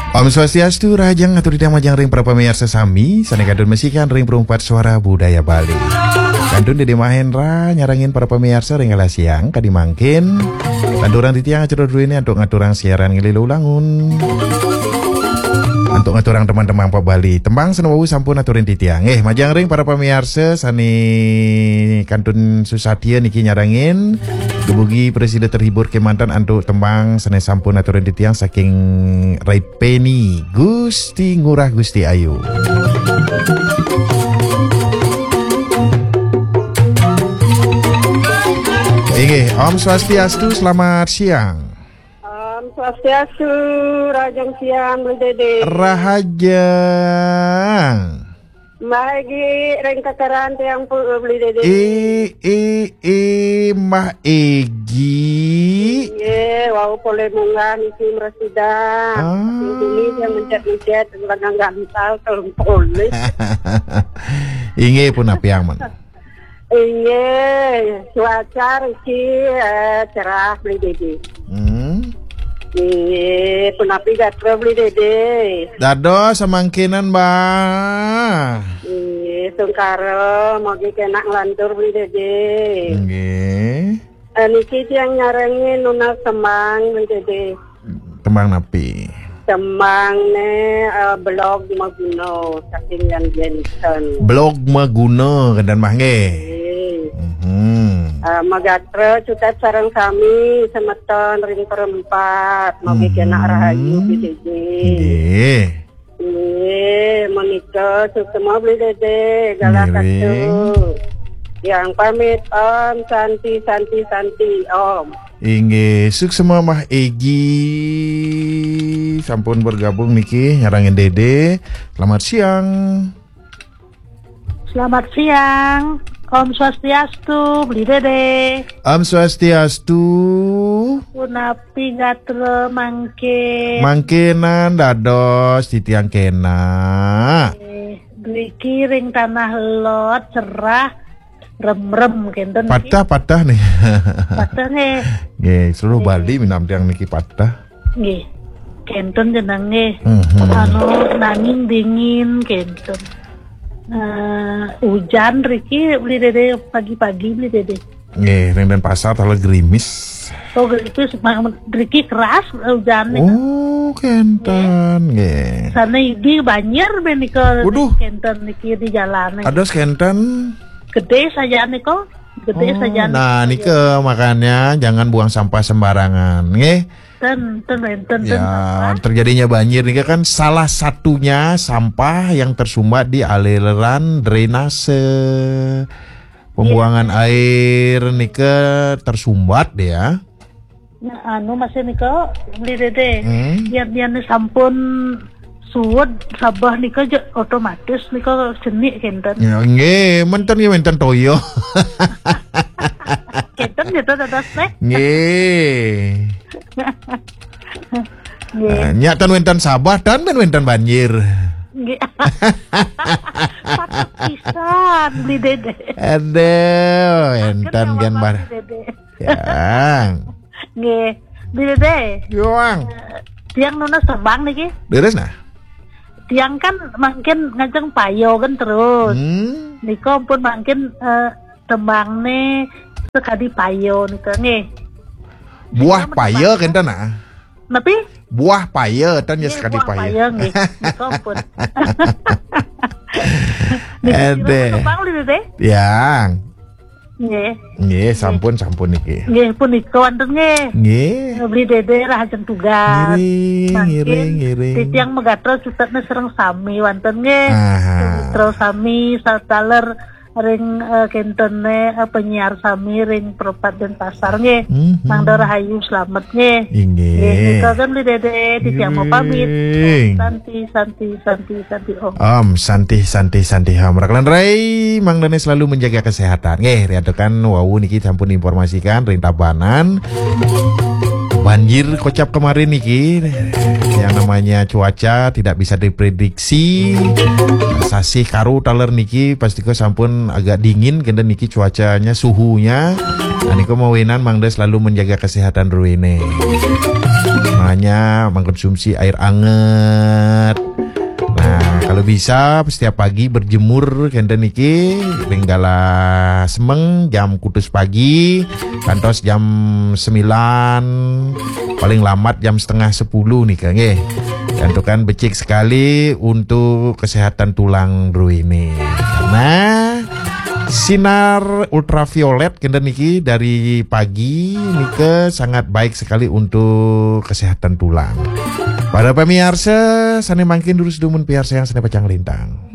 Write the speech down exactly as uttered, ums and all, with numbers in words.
Om Swastiastu, rahajeng atur titiang majeng ring para pamiarsa sami, sané kantun masikan ring Perumpat Suara Budaya Bali. Kantun Dédé Mahendra nyarengin para pamiarsa ring galah siang, kadi mangkin. Lanturang titiang acara druéné antuk ngaturang siaran ngilu langun. Antuk ngaturang tembang-tembang pop Bali. Tembang sané wau sampun aturin titiang. Nggih, majeng ring para pamiarsa sané kantun susatia niki nyarengin. Dumugi prasida terhibur kémanten antuk tembang sané sampun aturin titiang saking Rai Peni, Gusti Ngurah Gusti Ayu. Inggih, Om Swastiastu, selamat siang. Om Swastiastu, rahajeng siang, Bli Dédé. Rahajeng. Mbah Égi ring kekeran tiang pu Bli Dédé. I, i, i, Mbah Égi. Inggih, wau polih munggah niki mresida. Ah. Sing dini dia mencet-mencet, lengang gantal, telung polih. Inggih, punapi ampun. Inggih, cuaca riki, eh, cerah, Bli Dédé. Hmm. Inggih, punapi gatra, Bli Dédé? Dados samangkinan, Mbah. Inggih, tungkara, mogi kénak nglantur, Bli Dédé. Inggih. Eh, niki tiang nyarengin nunas tembang, Bli Dédé. Tembang napi? Tembangné, eh, Blog Maguna, saking Yan Jensen. Blog Maguna, kénten Mbah nggih. Nggih. Mhm. Eh, magatra cutet sareng sami semeton ring Perempat, mogi Mhm. kénak rahayu, Bli Dédé. Nggih. Nggih, menika suksma Bli Dédé, galah Ngiring. Katu. Yang pamit, Om Santi, Santi, Santi, Om. Inggih, suksma Mbah Égi sampun bergabung niki nyarengin Dédé. Selamat siang. Selamat siang. Om Swastiastu, Bli Dédé. Om Swastiastu. Punapi gatra mangkin? Mangkinan dados titiang kénak. Eh, driki ring Tanah Lot, cerah, remrem, kénten niki. Patah, patah nih. Patah nggih. Nggih, seluruh Nggih. Bali minam tiang niki patah. Nggih. Kénten jenengan nggih. Mhm. Anu, nanging dingin, kénten. Eh, hujan riki Bli Dédé pagi-pagi, Bli Dédé. Nggih, ring Denpasar taler gerimis. Oh, gerimis, ma-, riki keras, eh, hujan nika. Oh, kénten, nggih. Sané idi banjir menika Waduh. Kénten niki di jalan. Kados kénten. Gedé saja nika, gedé Oh, saja nah, nika. Nika makanya jangan buang sampah sembarangan, nggih. Ten, ten, ten, ten, Ya, sampah. Terjadinya banjir nika kan salah satunya sampah yang tersumbat di aliran drainase. Pembuangan Iya. Air nika tersumbat ya. Nah, anu masih nika, Bli Dédé. Hmm? Yén, yén sampun suud sabah nika je otomatis nika cenik kénten. Ya, nggih, menten nggih, menten toya. Kénten gitu dados téh. Nggih. Nggih. Nah, nya tan wénten sabah, tan ben wénten banjir. Nggih. Patut pisan, Bli Dédé. Aduh, Akhirnya énten gén Bapak bar. Bli Dédé. Ya. Nggih. Bli Dédé. Yo, Ang. Eh, tiang nunas tembang niki. Leres nah. Tiang kan mangkin ngajeng payo kan terus. Hmm. Nika pun mangkin, eh, tembangné sekadi payo nika nggih. Buah Nika payo tembang. Kénten nah. Napi? Buah payo tan ya Nggih, sekadi buah payo. Payo nggih. Nika pun. Niki Ade. Tembang Bli Dédé? Yang. Nggih. Nggih, sampun, sampun niki. Nggih, punika wonten nggih. Nggih. Bli Dédé rahajeng tugas. Ngiring, mangkin ngiring, ngiring. Titiang magatra cutetna sareng sami wonten nggih. Aha. Mitra sami sataler ring, eh, kéntené, eh, penyiar sami ring Perempat Denpasar nggih. Mhm. Mangda rahayu slamet nggih. Inggih. Nggih, nika kan Bli Dédé, titiang mau pamit. Ngiring. Santi, santi, santi, santi, Om. Om, santi, santi, santi, Om. Rakelan rai, mangdané selalu menjaga kesehatan. Nggih, riantukan wau niki sampun informasikan ring Tabanan. Banjir kocap kemarin niki, yang namanya cuaca tidak bisa diprediksi. Sasih karo taler niki pastika sampun agak dingin, kénten niki cuacanya, suhunya. Nah, nika mawinan mangda selalu menjaga kesehatan druéné. Hanya mengkonsumsi air anget. Nah, kalau bisa setiap pagi berjemur kenten niki, ring galah semeng jam kutus pagi kantos jam sembilan, paling lambat jam setengah sepuluh nika nggih. Tentukan becik sekali untuk kesehatan tulang druene. Karena sinar ultraviolet kenten niki dari pagi nika sangat baik sekali untuk kesehatan tulang. Para pemirsa, sane mangkin durus dumun piarsayang sane pacang lintang.